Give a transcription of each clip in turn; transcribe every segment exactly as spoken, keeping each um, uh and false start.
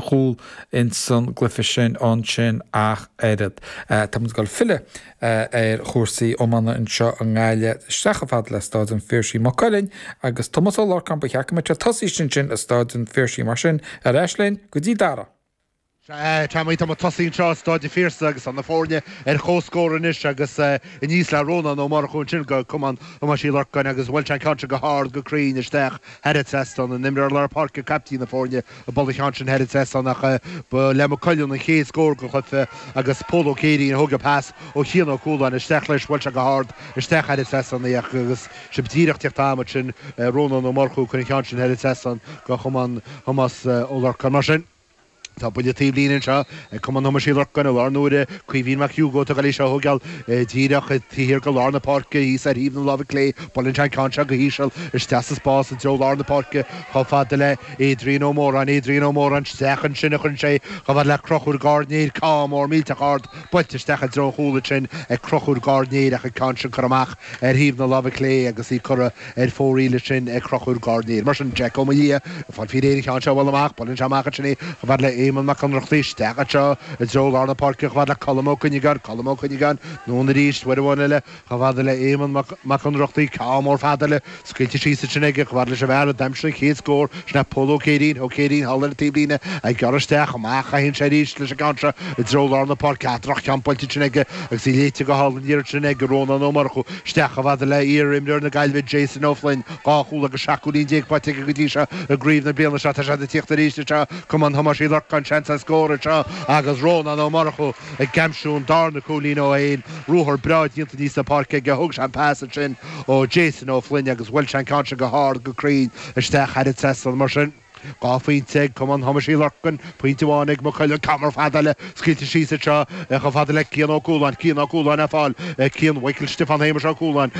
chúl insan gcluiche sin ansin ach oiread. Tá muid ag dul filleadh ar chúrsaí iomána anseo i nGaillimh isteach chomh fada le Staid an Phiarsaigh Maigh Cuilinn agus Tomás Ó Lorcáin ba cheart go mbeadh tosaithe ansin i Staid an Phiarsaigh mar sin ar ais linn go dtí Dara. Tá tá tosaithe anseo Staid an Phiarsaigh agus an na foirne ar comhscór anois agus aníos le Rónán Ó Murchú ansin go Cumann Thomáis Uí Lorcáin agus bhuail sé an ceann go hard go cruinn isteach thar an trasnán an imreoir lár páirce caiptín na foirne a bhuail an ceann sin thar an trasnán ach ba le Maigh Cuilinn an chéad scór den chluiche agus Pól Ó Céirín a thóg an pas ó Chian Ó Cualáin isteach leis bhuail sé go hard isteach thar an trasnán agus sib díreach teacht am sin Rónán Ó Murchú chun an ceann sin thar an trasnán go Cumann Thomas Ó Lorcáin mar sin. Tá buille taobhlíne anseo ag Cumann Thomáis Uí Lorcáin i lár na huaire Caoimhín Mac Hugo tá seo thógáil díreach thiar go lár na páirce thíos ar thaobh na láimhe clé buaileann sé an ceann seo go híseal isteach sa spás i dtreo lár na páirce chomh fada le Adrian Ó Móráin Adrian Ó Móráin isteach ansin a chuireann sé chomh fada le Conchúr Gairdnéir ceann mór millteach ard buailte isteach i dtreo an chúil sin ag Conchúr Gairdnéir ach an ceann sin curtha amach ar thaobh na láimhe clé agus í curtha ar fóraoil sin ag Conchúr Gairdnéir. Mar sin Jack Ó Malia fáil fí réir ceann seo bhfuil amach buaileann sé amach sin chomh fada le Éamonn Mac Ionnrachtaigh isteach anseo i dtreo lár na páirce chomh fada le Colm Ó Cuinneagáin Colm Ó Cuinneagáin anonn arís uair amháin eile chomh fada le Éamonn Mac Ionnrachtaigh ceann mór fada eile scaoilte síos sin aige chomh fada leis an bhfear a d'aimsigh an chéad scór sin Pól Ó Céirín Ó Céirín thall ar an taobhlíne ag gearradh isteach amach a théann sé arís leis an gceann seo i dtreo lár na páirce droch-cheann buailte sin aige agus í léite go hálainn iarraidh sin ag Rónán Ó Murchú isteach chomh fada le iar-imreoir na Gaillimhe Jason Ó Floinn dhá chúl agus seacht gcúilín déag faighte aige go dtí seo i gcraobh na bliana seo tá sé ag tíocht arís seo Cumann Thomáis Uí Lorcáin seans ar scór seo agus Rónán Ó Murchú ag aimsiú an darna cúilín ó aon ruathar breá déanta aníos na páirce aige thug sé an pas sin ó Jason Ó Floinn agus bhuail sé an ceann sin go hard go cruinn isteach thar an trasnán mar sin. Dhá phointe ag Cumann Thomáis Uí Lorcáin pointe amháin ag Maigh Cuilinn ceann mór fada eile scaoilte síos seo chomh fada le Cian Ó Cualáin Cian Ó Cualáin ar fáil Cian Mhichael Stiofán Shéamuis Ó Cualáin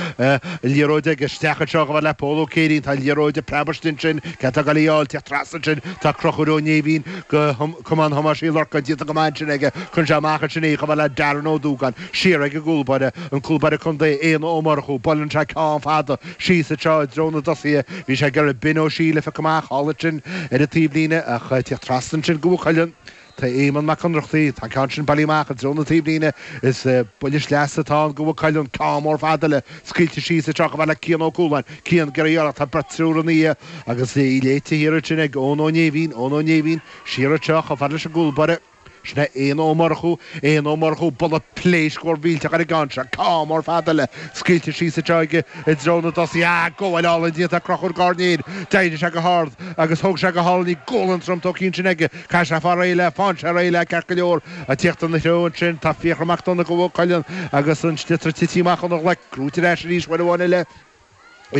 liathróid aige isteach anseo chomh le Pól Ó Céirín tá liathróid preabadh sin ce tá gaáil te tras sin tá Conchúr Ó Néimhín go Cumann Thomáis Uí Lorcáin déanta go maith sin aige chun sé amach sin é chomh le Darren Ó Dúgáin siar ag an gcúlbáire an cúlbáire contae Éanna Ó Murchú buaileann sé ceann fada síos seo i dtreo na dtosaithe bhí sé gur bin ó sí le fe amach hála sin ar an taobhlíne ach te trasna sin go chuileann Tá Éamonn Mac Ionnrachtaigh tá ceann sin bailithe amach i dtreo na taobhlíne is buille sleasa atá go chuileann ceann mór fada eile scaoilte síos seo chomh le Cian Ó Cualáin Cian gur tá beirtrúr an íe agus í léite thiar sin ag Eoin Ó Néimhín Eoin Ó Néimhín siar seo chomh fada leis an gcúlbáire Sin Éanna Ó Murchú Éanna Ó Murchú buille pléasc mór millteach ar an gceann seo ceann mór fada eile scaoilte síos aige i dtreo na dtosaithe gabháil álainn déanta Conchúr Gairdnéir d'éirigh sé go hard agus thóg sé go hálainn í gualainn trom tócín sin aige Ca sé fá réile fán sé réile ceart go leor a tíocht na threo sin tá Fiachra Mac Donna go Cuilinn agus an sliotar tite amach óna ghlaic gnóite ar ais arís uair amháin eile.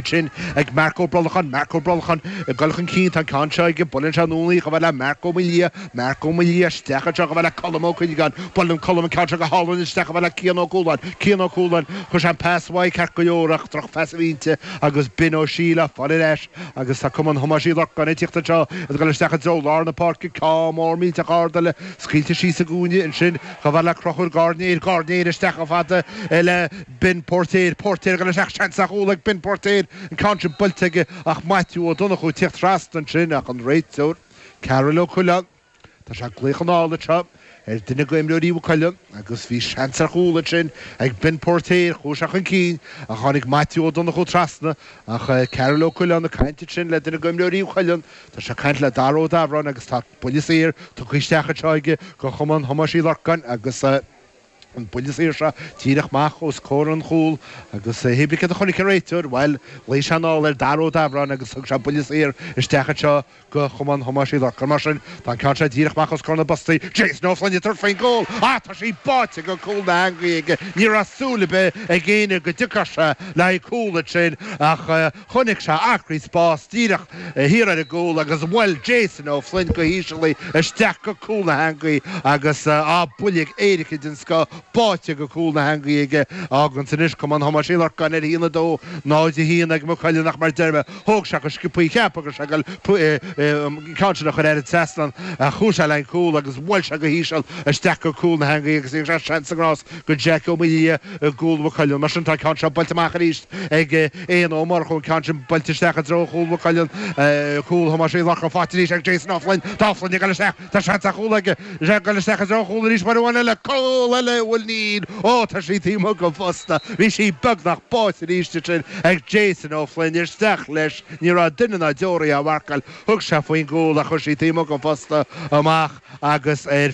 sin ag Marco Brolachan Marco Brolachan ag dul chun cinn tá ceann seo aige buaileann sé anonn í chomh le Marco Milia Marco Milia isteach seo chomh le Colm Ó Cuinneagáin buaileann Colm ceann seo go hálainn isteach chomh le Cian Ó Cualáin Cian Ó Cualáin chuir sé an pas uaidh ceart go leor ach drochphas a bhí inti agus Ben Ó Síle fáil ar ais agus tá Cumann Thomáis Uí Lorcáin ag tíocht seo ag dul isteach i dtreo lár na páirce ceann mór millteach ard eile scaoilte síos i gcúinne ansin chomh le Conchúr Gairdnéir Gairdnéir isteach chomh fada le Ben Póirtéir Póirtéir go isteach seans ar chúl ag Ben Póirtéir an ceann sin buailte aige ach Maitiú Ó Donnchú tíocht trasna sin ach an réiteoir Carol Ó Coileáin Tá sé glaoch anall seo ar duine d'imreoirí Mhaigh Cuilinn agus bhí seans ar chúl sin ag Ben Póirtéir chuaigh sé chun cinn a tháinig Maitiú Ó Donnchú trasna ach Carol Ó Coileáin ag caint sin le duine d'imreoirí Mhaigh Cuilinn Tá sé caint le Dara Ó Dabhráin agus tá buille saor tugtha isteach anseo aige go Chumann Thomáis Uí Lorcáin agus an buille saor seo díreach amach os comhair an chúil agus hébrí a chonaic an réiteoir bhuel ghlaoigh sé anall ar Dara Ó Dabhráin agus thug sé buille saor isteach anseo go Chumann Thomáis Uí Lorcáin mar sin tá ceann sé díreach amach os comhair na bpostaí Jason Ó Floinn tar faoin gcúl á tá sí báite go cúl na heangaí aige ní raibh súil ar bith ag éinne go dtiocfadh sé le cúl sin ach chonaic sé acraí spás díreach thiar ar an gcúl agus bhuail Jason Ó Floinn go híseal isteach go cúl na heangaí agus á buille éirice den scoth báite go cúl na heangaí aige. Fágann anois Cumann Thomáis Uí Lorcáin ar a haon a dó, náid a haon ag Maigh Cuilinn ach mar a deir mé, thóg sé go sciobthaí, cheap go raibh sé ag dul an ceann sin a chur thar an trasnán ach chuaigh sé le an cúl agus bhuail sé go híseal isteach go cúl na heangaí agus thug sé seans sa ngrás go Jack Ó Maoildhia i gcúl Mhaigh Cuilinn. Mar sin tá an ceann seo buailte amach arís ag Éanna Ó Murchú, an ceann sin buailte isteach i dtreo chúl Mhaigh Cuilinn, cúl Thomáis Uí Lorcáin faighte arís ag Jason Ó Floinn. Tá Ó Floinn ag dul isteach, tá seans ar chúl aige, is é ag dul isteach i dtreo an chúil arís uair amháin eile, cúl eile, bhuel níl, ó tá sí taobh amuigh den phosta, bhí sí beagnach báite arís ansin ag Jason Ó Floinn, isteach leis, ní raibh duine ná deoraí á mharcáil, thug sé faoin gcúl ach chuir sí taobh amuigh den phosta amach agus ar.